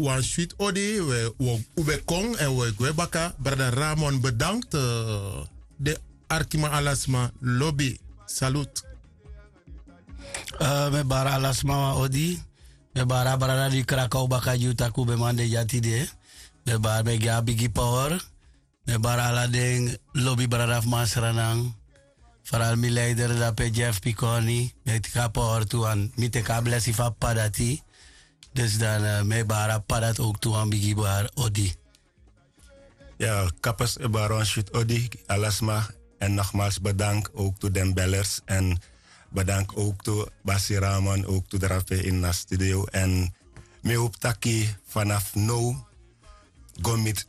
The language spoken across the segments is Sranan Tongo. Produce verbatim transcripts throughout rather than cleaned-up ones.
wan switi odi. Un ben kon èn un e gwe baka. Brada Ramon, bedankt. Den arkiman, ala sma lobi. Salut. Mi e bari ala sma wan odi. Mi e bari a brada di kraka un baka gi un tak' un ben man de dya tide. Mi e bari, mi e gi a bigi power. Mi e bari ala den lobi brada fu Masranan. Faral mi leider dape, Jeff Piconi. Mi e teki a power tu, want mi teki a blesi fu a p'pa dati. Dus dan, mi e bari a p'pa dati ook tu wan bigi bari odi. Ya, Kapers, e bari wan switi odi gi ala sma. En nogmaals bedankt ook tu den bellers. En bedankt ook tu Basi Ramon, ook tu drape in na studio. En mi hoop taki vanaf now go miti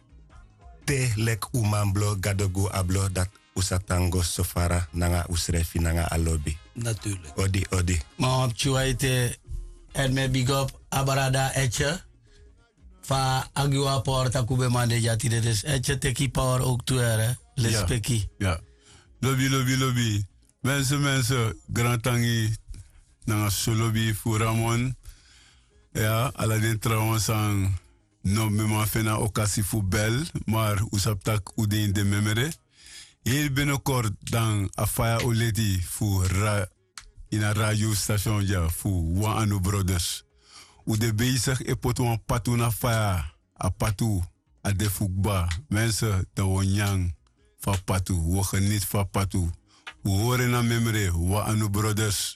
te leki un man blo, Gado gi un a blo, dati un sa tan go so fara nanga unsrefi nanga a lobi. Natuurlijk. Odi, odi. Ma wan pikin wan ete, èn mi e bigi op a brada Etje. Fa a gi wan power tak' un ben man de dya tide, dus Etje, teki power ook tu, here. Lespeki. Ya. Lobi, lobi, lobi. Mensen, mensen, grantangi nanga so lobi fu Ramon. Ya, ala den trawan san no mi man feni a okasi fu bel, maar un sabi tak' un de ini den memre. Heri binnenkort dan a faya o leti fu ra-, ini a radiostation dya fu Wan Anu Brothers. Un de bezig e poti wan patu na faya, a patu a de fu kba. Mensen, dan un o nyan fu a patu, un o geniet fu a patu. Un hori en na memre, Wan Anu Brothers.